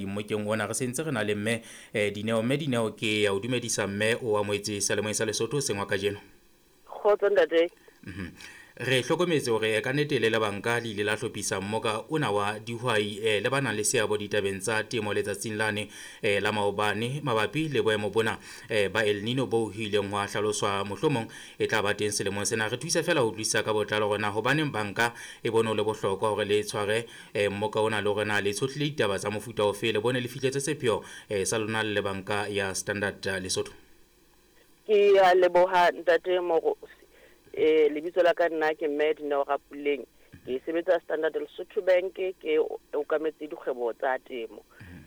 Mmokeng ona re sentse re na le mme Dineo. Mme Dineo, ke ya o dumedisa mme o amohetse seyalemoyeng sa Lesotho sengwa kajeno. Kgotso ntate. Re hlokometse hore ka nnete le le banka le ile la hlophisa mmoka ona wa dihwai le ba nang le seabo ditabeng tsa temo letsatsing lane la maobane mabapi le boemo bona ba El Nino boo ho ileng hwa hlaloswa mohlomong e tla ba teng selemong sena. Re thuse feela ho utlwisisa ka botlalo hore na hobaneng banka e bone ho le bohlokwa hore le tshware mmoka ona le hore na le tshohlile ditaba tsa mofuta ofe, le bone le fihletse sepheo sa lona le le banka ya Standard Lesotho. Ke a leboha ntate Morosi. Lebitso la ka nna ke mme Dineo Rapuleng. Ke sebetsa Standard Lesotho Bank, ke okametse dikgwebo tsa temo.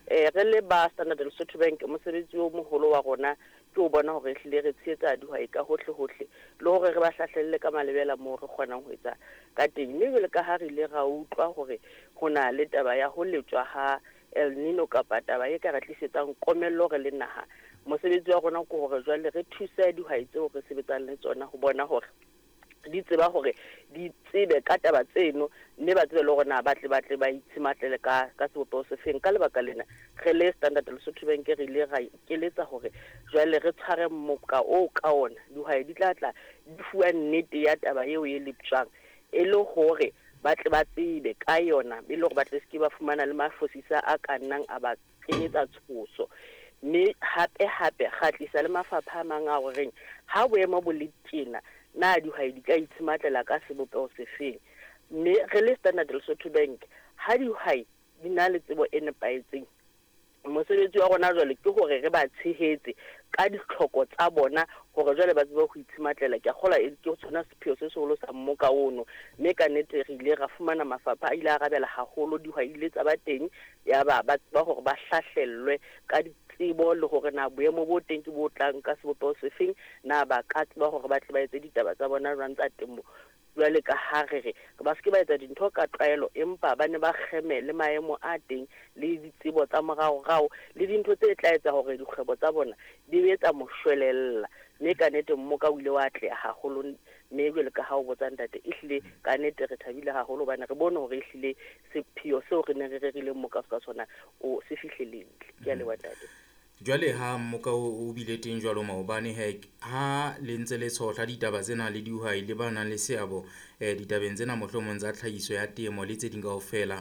Re le ba Standard Lesotho Bank, mosebetsi o moholo wa rona ke o bona hore ehlile re tshehetsa dihwai ka hohle hohle le hore re ba hlahlelle ka malebela moo re kgonang ho etsa ka teng. Mme jwale ka ha re ile ra utlwa hore ho na le taba ya ho letswa ha El Nino kapa taba e ka re tlisetsang komello re le naha, mosebetsi wa rona ke hore jwale re thuse dihwai tseo re sebetsang le tsona ho bona hore di tseba hore di tsebe ka taba tseno, mme ba tsebe le hore na ba tle ba tle ba itshematlela ka sebopeho se feng. Ka lebaka lena re le Standard Lesotho Bank re ile ra ikeletsa hore jwale re tshware moka oo ka ona dihwai di tla tla di fuwa nnete ya taba eo e leptjwang, e le hore ba tle ba tsebe ka yona, e le hore ba tle seke ba fumana le mafosisa a ka nnang a ba kenyetsa tshoso. Mme hape hape ra tlisa le mafapha a mang a horeng ha boemo bo le tjena, na dihwai di ka itshematlela ka sebopeho se feng. Mme re le Standard Lesotho Bank, ha dihwai di na le tsebo e nepahetseng, mosebetsi wa rona jwale ke hore re ba tshehetse ka ditlhoko tsa bona hore jwale ba tsebe ho itshematlela. Ke a kgolwa ke sona sepheo se seholo sa mmoka ono. Mme ka nnete re ile ra fumana mafapha a ile a arabela haholo, dihwai di ile tsa ba teng, ya ba ba tseba hore ba hlahlellwe ka ditsebo le hore na boemo bo teng ke bo tlang ka sebopeho se feng, na ba ka tseba hore ba tle ba etse ditaba tsa bona jwang tsa temo. Jwale ka ha re re ba se ke ba etsa dintho ka tlwaelo, empa ba ne ba kgeme le maemo a teng le ditsebo tsa moraorao le dintho tse tla etsa hore dikgwebo tsa bona di be tsa moshwelella. Mme ka nnete mmoka o ile wa atleha haholo. Mme jwale ka ha o botsa ntate, ehlile ka nnete re thabile haholo hobane re bone hore ehlile sepheo seo re neng re rerile mmoka ka sona o se fihlelehile. Ke a leboha ntate. Jwale ha mmoka o bile teng jwalo maobane he, ha le ntse le tshohla ditaba tsena le dihwai le ba nang le seabo ditabeng tsena mohlomong tsa tlhahiso ya temo le tse ding kaofela,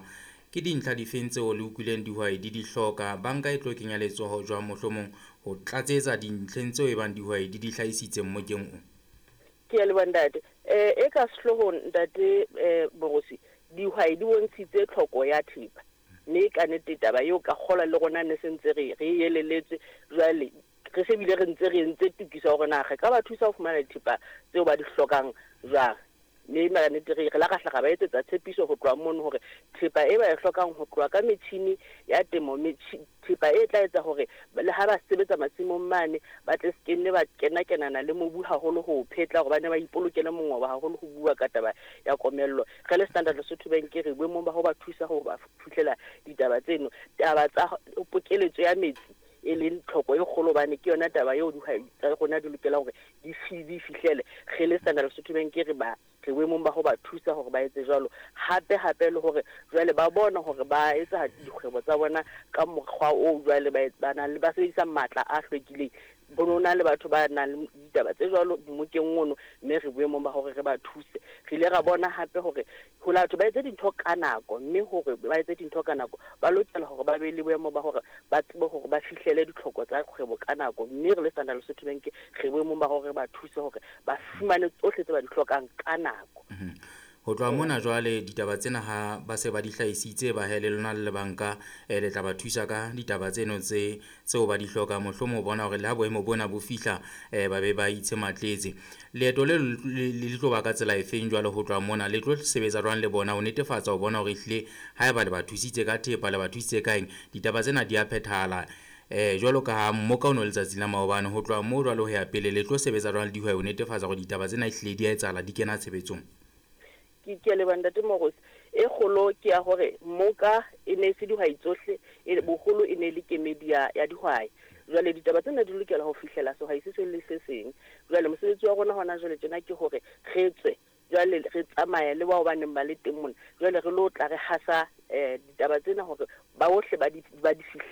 ke dintlha difeng tseo le utlwileng dihwai di di hloka? Banka e tlo kenya letsoho jwang mohlomong ho tlatsetsa dintlheng tseo e bang dihwai di di hlahisitse mmokeng o? Ke a leboha ntate. E ka sehloohong ntate Borosi, dihwai di bontshitse tlhoko ya thepa. Mme ka nnete taba eo ka kgolwa le rona ne se ntse re re eleletswe. Jwale re se bile re ntse re entse tokiso ya hore na re ka ba thusa ho fumana dithepa tseo ba di hlokang jwang. Mme ka nnete re la ra hla ra ba etsetsa tshepiso ho tloha mono hore thepa e ba e hlokang ho tloha ka metjhini ya temo, thepa e tla etsa hore le ha ba sebetsa masimong mane ba tle se ke nne ba kena-kenana le mobu haholo ho o phetla hore ba ne ba ipolokele mongobo haholo ho bua ka taba ya komello. Re le Standard Lesotho Bank re boemong ba ho ba thusa ho ba fihlela ditaba tseno. Taba tsa pokeletso ya metsi e leng tlhoko e kgolo hobane ke yona taba eo dihwai tsa rona di lokelang hore di fihlele. Re le Standard Lesotho Bank re ba re boemong ba ho ba thusa hore ba etse jwalo. Hape hape le hore jwale ba bona hore ba etsa dikgwebo tsa bona ka mokgwa oo jwale ba nang le ba sebedisa matla a hlwekileng. Bo no na le batho ba nang le ditaba tse jwalo mmokeng ono, mme re boemong ba hore re ba thuse. Re ile ra bona hape hore ho batho ba etse dintho ka nako, mme hore ba etse dintho ka nako ba lokela hore ba be le boemo ba hore ba tsebe hore ba fihlele ditlhoko tsa kgwebo ka nako. Mme re le Standard Lesotho Bank re boemong ba hore re ba thuse hore ba fumane tsohle tse ba di hlokang ka nako. Ho tloha mona jwale ditaba tsena ha ba se ba di hlahisitse ba he le lona le banka le tla ba thusa ka ditaba tseno tse tseo ba di hlokang, mohlomong ho bona hore le ha boemo bona bo fihla ba be ba itshematletse. Leeto le le tlo ba ka tsela efeng jwale ho tloha mona? Le tlo sebetsa jwang le bona ho netefatsa ho bona hore ehlile haeba le ba thusitse ka thepa, le ba thusitse ka eng, ditaba tsena di a phethahala? Jwalo ka ha mmoka o no letsatsi la maobane, ho tloha moo jwale ho ya pele le tlo sebetsa jwang le dihwai ho netefatsa hore ditaba tsena ehlile di a etsahala, di kena tshebetsong? Ke a leboha ntate Morosi. E kgolo ke ya hore mmoka e ne se dihwai tsohle, boholo e ne le kemedi ya dihwai. Jwale ditaba tsena di lokela ho fihlela sehwai se seng le se seng. Jwale mosebetsi wa rona hona jwale tjena ke hore re tswe Jwale re tsamaya le bao ba neng ba le teng mona, jwale re lo tla re hasa ditaba tsena hore ba bohle ba di ba di.